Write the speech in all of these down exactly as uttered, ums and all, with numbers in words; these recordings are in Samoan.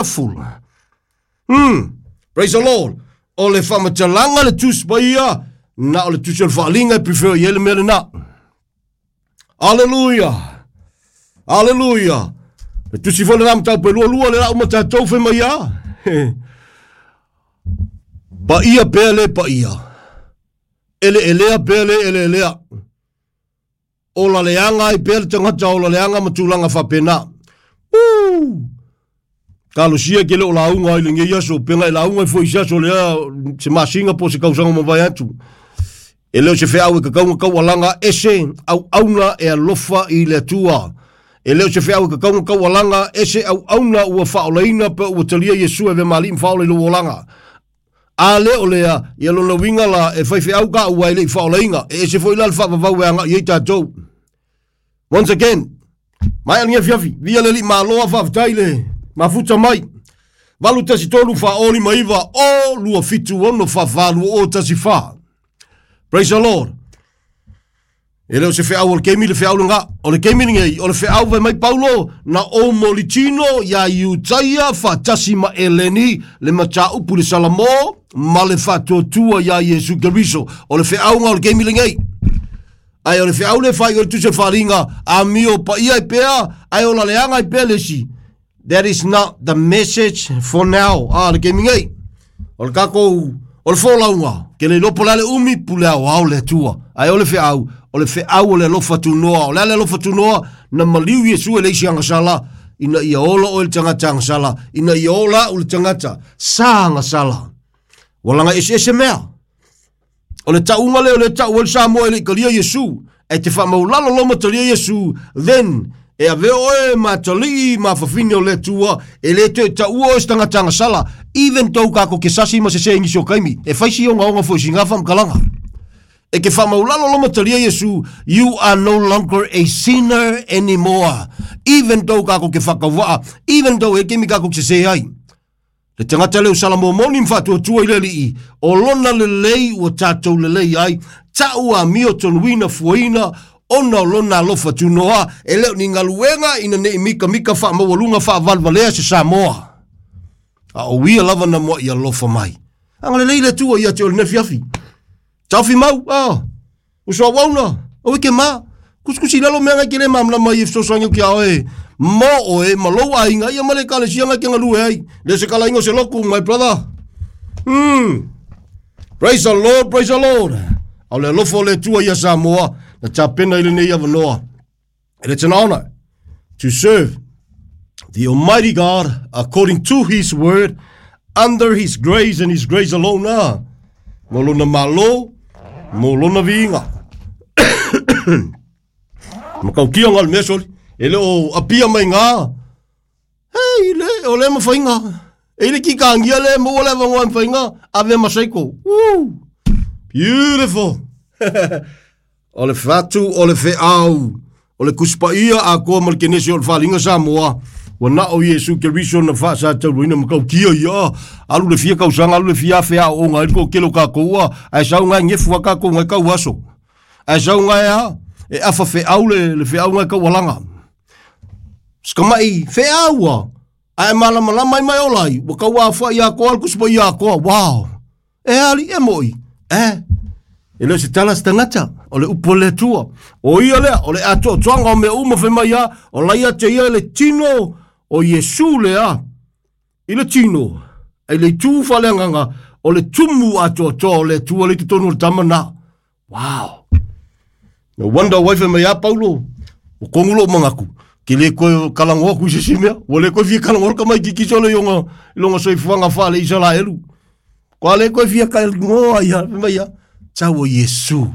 Wonderful. Hmm. Praise the Lord. O le faamatalaga le Tusi Paia, na o le Tusi o le Faaliga e prefer i ai le mea lena. Aleluia. Aleluia. Le Tusi foi lena mataupu e lualua le lau ma tatou fai mai a. Paia pea le paia. Eleelea pea le eleelea. Ola leaga ai pea le tagata ola leaga ma tulaga faapena. Woo! Talosia ke le o lauga ai lenei aso, pega e lauga ai foi i se aso lea, se masina po o se kausaga mavae atu. E le o se feau e kakau na taualaga ese auauna e alofa i le Atua. E le o se feau e kakau na taualaga ese auauna ua faaolaina pe ua talia Iesu e avea ma Alii ma Faaola i lou olaga. A le o lea, ia lona uiga la e faifeau ka ua e le i faaolaina, e ese foi la le faavavau e agai ai tatou. Once again, maea lenei afiafi, via le Alii Malo a faafetai le mafuta mai. Valu tasi tolu fa o lima iva o lua fitu ono fa fa lua o tasi fa. Praise the Lord. E le o se feau o le keimi le feau lenga. O le keimi lenei, o le feau fai mai Paulo, na ou molitino iā Iutaia faatasi ma Eleni le mataupu i le Salamo ma le faatuatua iā Iesu Keriso. O le feauga o le keimi lenei. Ae o le feau lea e faaiu ai le Tusi o le Faaaliga, amio paia ai pea, ae ola leaga ai pea le isi. That is not the message for now. Ah, le keimi nei. O le tatou, o le folauga, ke le iloa po o le a le umi, pule aoao le Atua. Ae o le feau, o le feau o le alofa tunoa. O le a le alofa tunoa? Na maliu Iesu e le isi agasala, ina ia ola oe le tagata agasala, ina ia ola au le tagata sa agasala. Ua laga eseese mea. O le tauga lea o lea tau ai le Samoa e le i talia Iesu. E te faamaulalo loa ma talia Iesu, then e ave oe ma atalii ma afafine o le Atua, e le toe taua oe se tagata agasala, even though kako ke sasi ma sese i nisi o kaimi, e fai si ogaoga foi i sina faamatalaga. E ke faamaulalo loa ma talia Iesu, you are no longer a sinner anymore. Even though kako ke whakawaa, even though e kemi kako ke sese ai. Le tagata lea o Salamo moni ma faatuatua i le Alii, o lona lelei ua tatou lelei ai, ta'u amio tonuina fuaina, ona o lona alofa tunoa, e le o ni galuega ina ne i mikamika faamaualuga faavalevalea se Samoa. A o ia lava na mua'i alofa mai. Agalelei le Atua ia te oe i lenei afiafi. Taofi mau, ah, uso auauna, aua e ke ma. Kusikusi i lalo mea ngai ke le malamalama ai e fesoasoani atu ki a oe mo oe ma lou aiga ia ma le ekalesia ngai ke galue ai. Le o se kalaiga o se loku, my brother. Mm. Praise the Lord, praise the Lord. A o le alofa o le Atua ia Samoa, na tapena i lenei avanoa. And it's an honor to serve the Almighty God according to His word, under His grace and His grace alone. Ah. Mo lona malo, mo lona viiga. Makaukia ngā le mea soli. E le o apia mai ngā. Hei, le, o le mawhainga. E le ki kāngia le maua le avangoa mawhainga. Ave masaiko. Woo! Beautiful! O le fatu, o le feau, o le Tusi Paia atoa ma le Kenese o le Faaaliga Samoa, ua na o Iesu Keriso na faasatauaina ma tautia ia, alu le fia tausaga, alu le fia afe aooga ai le toatele o tatou a, ae sau gae gefu a tatou gae tau aso. Ae sau gae a, e afa feau le, le feau gae taualaga. Sikamai feau a, ae malamalama ai mai ola ai, ua tau aofai atoa le Tusi Paia atoa, wow! E ali, e moi, e. E le o se tala se tagata, o le upu a le Atua. O ia lea, o le atoatoaga o mea uma fai mai a, o la ia te ia i le tino o Iesu lea, i le tino, ai le itu faaleagaga, o le tumu atoatoa o le Atua lea i totonu o le tama na. Wow! No wonder why fai mai a Paulo, ua kogu lou manatu, ke le koe kalangoa aku i se isi mea, ua le koe fia kalangoa le tamaititi solo i ona, i lona soifuaga faale-Isaraelu. Kua le koe fia kalangoa ia, fai mai ia, tau o Iesu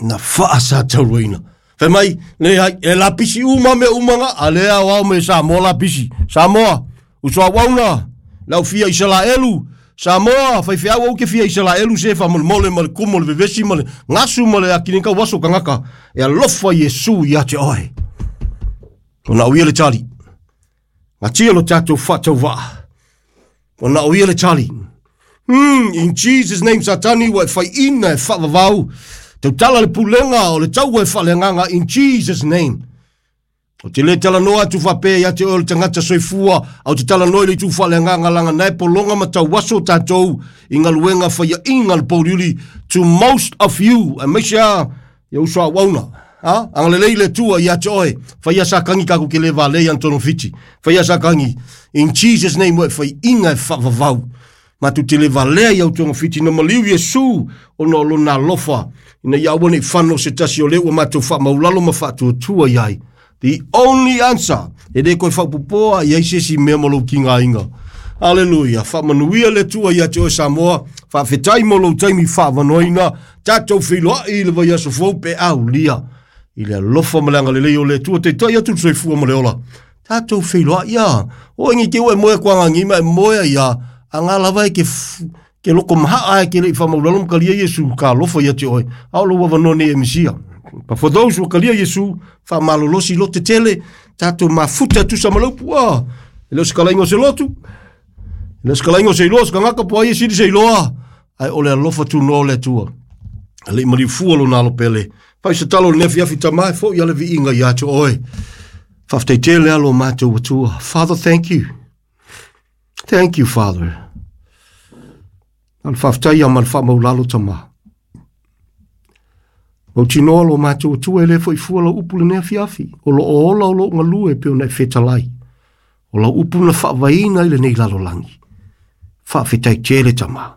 na faasatauaina. Fai mai, le ai, e lapisi uma mea uma nga, a le aoao me Samoa lapisi. Samoa, uso auauna, lau fia Isaraelu, Samoa, faifeau au ke fia Isaraelu se faamolemole ma le kumu o le vevesi ma le gasu ma le akini kau aso kangaka, e alofa Iesu ia te oe. Ona o ia le tali. Ngatia lo tatou faatauvaa. Ona o ia le tali. Hmm, in Jesus name Satani ua e faiina e faavavau. Tautala le pulega o le taua e faaleagaga in Jesus name. O te le talanoa atu faapea ia te oe o le tagata soifua, a o te talanoa i le itu faaleagaga laga nae pologa ma tauaso tatou i galuega faiaʻiga le pouliuli to most of you, aemaise a ia uso auauna. Ha? Agalelei le Atua ia te oe. Faia sakagi kaku ke le valei Antono Fiti. Faia sakagi. In Jesus name oe faiʻiga e faavavau. Matou te le valea i autoga fiti na maliu Iesu ona o lona alofa. Ina ia aua nei fano se tasi o le ua matou faamaulalo ma faatuatua i ai. The only answer. E le koe faapopoa i ai se isi mea ma lou kigaina. Aleluia. Faamanuia le Atua ia te oe Samoa. Faafetai mo lou taimi faavanoaina. Tatou feiloai i le vaiaso fou pe aulia. I le alofa ma le agalelei o le Atua taitai atu le soifua ma le ola. Tatou feiloai ia. O ngi ke ue moe kwa ngagi ma e moe ia. Anga lava e ke, ke loko mahaa e ke le i whamaulalo mkalia Yesu ka alofa ia te oe. Ao lo wavanoa nei e misia. But for those who kalia Yesu, whamalolosi lo te tele, tatou mafuta tusa malaupu a. E leo se kalainga o se lotu. E leo se kalainga o se iloa, se kangaka po ai e sili se iloa. Ai ole alofa tu no le Atua. Ale i mariufua lo nalo pele. Fai se talo le nefi afi tamai, fo i ale viinga ia te oe. Faafetai tele alo matou Atua. Father, thank you. Thank you, Father. Al faafetai ia ma le faamaulalo tamā. Mautinoa lo matou Atua e le foi fua lau upu lenei afiafi. O lo o ola o lou galue pe ona e fetalai. O lau upu na faavaina i lenei lalolagi. Faafetai tele tamā.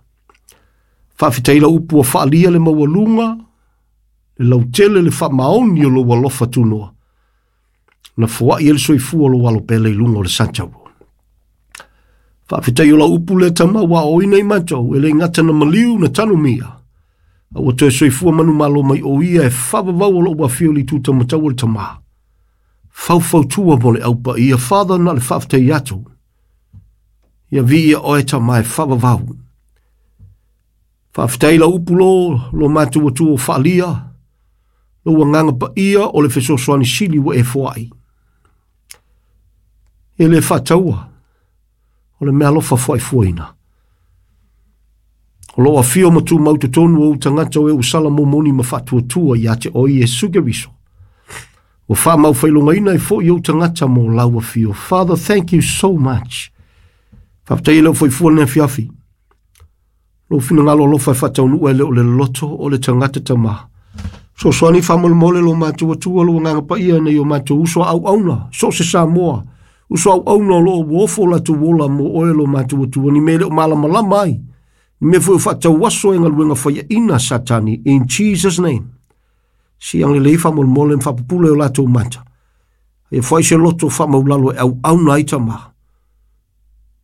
Faafetai lau upu ua faalia le maualuga, le lautele le faamaoni o lou alofa tunoa. Na foai e le soifua o lou alo pele i luga o le Santauro. Faafetai o lau upu le tama ua oina i matou, e le gata na maliu na tanumia. A ua toe soifua manumalo mai o ia e faavavau o lou afio i le itu taumatau o le tamā. Faufautua mo le aupaia, Father na le faafetai atu. Ia viia oe tamā e faavavau. Faafetai lau upu lo, lo matou Atua o faalia, lou agaga paia o le fesoasoani sili ua e foai. E le faataua, o le mea alofa foaifuaina. O lou afio ma tumau totonu o ou tagata o e ua sala momoni ma faatuatua ia te oe Iesu Keriso. Ua faamau failogaina ai foi ou tagata mo lau afio. Father, thank you so much. Faafetai e lau faifua lenei afiafi. Lou finagalo alofa e faataunuu e le o le loto o le tagata tamā. Fesoasoani faamolemole lo matou Atua lou agaga paia nei o matou uso auauna, so o se Samoa. Uso auauna o loo ua ofo o latou ola mo oe lo matou Atua, ni mea e le o malamalama ai. Ni mea foi o faatauaso e galuega faiaʻina Satani, in Jesus name. Si agalelei faamolemole ma faapupula e o latou mata. Ia foai se loto faamaulalo e auauna ai tamā.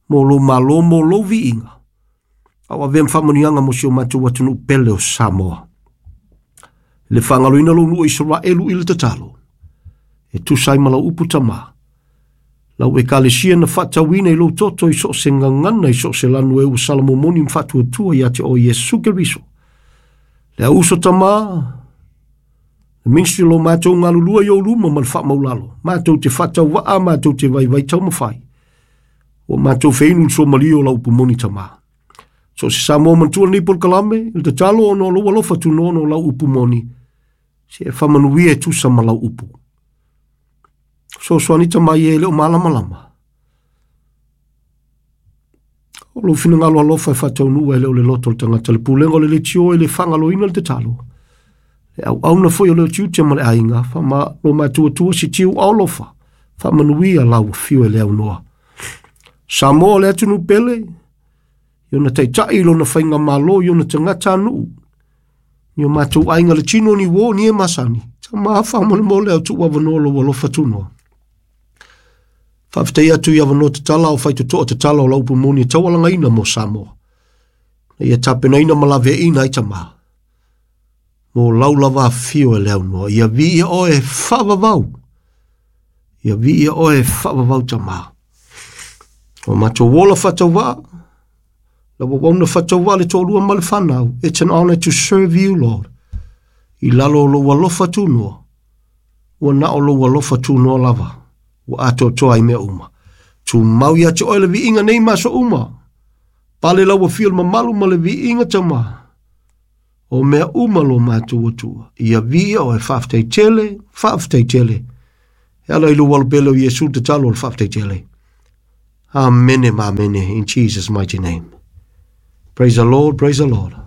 Mo lou malo mo lou viiga. A o avea ma faamanuiaga mo si o matou atunuu pele o Samoa. Le faagaloina lou nuu o Isaraelu i le tatalo. E tusa ai ma lau upu tamā. Lau ekalesia na faatauina i lou toto i so o se gagana i so o se lanu e ua salamomoni ma faatuatua ia te oe Iesu Keriso. Le auso tamā, le ministry lo matou galulua i ou luma ma le faamaulalo. Matou te faatauvaa, matou te vaivai taumafai. Ua matou feinu le suamalie o lau upu moni tamā. So o se Samoa matua lenei polokalame, le tatalo ona o lou alofa tunoa o lau upu moni, se e faamanuia e tusa ma lau upu. Fesoasoani tamai e le o malamalama. O lou finagalo alofa e faataunuu e le o le loto o le tagata le pulega o le leitio e le faagaloina le tatalo. Le auauna foi o le tiute ma le aiga, faama lo matuatua si tiu alofa, faamanuia lau afio e le aunoa. Samoa le atunuu pele, i ona taitai i lona faigamalo i ona tagata nuu. Ni o matou aiga le tino ni uō ni e masani. Tamā faamolemole au tuu avanoa lou alofa tunoa. Faafetai atu i avanoa tatala o faitotoa tatala o lau upu moni e taualagaina mo Samoa. Na ia tapenaina ma laveaina ai tamā. Mo lau lava afio e le aunoa. Ia viia oe e faavavau. Ia viia oe e faavavau tamā. O matou ola faatauvaa, lau auauna faatauvaa le toalua ma le fanau. It's an honor to serve you, Lord. I lalo o lou alofa tunoa. Ua na o lou alofa tunoa lava. Ua atoatoa ai mea uma. Tumau ia te oe le viiga nei ma aso uma. Pale lau afio le mamalu ma le viiga tamā. O mea uma lo matou Atua. Ia viia oe faafetai tele, faafetai tele. E ala i lou alo pele o Iesu tatalo o le faafetai tele. Amene ma amene, in Jesus' mighty name. Praise the Lord, praise the Lord.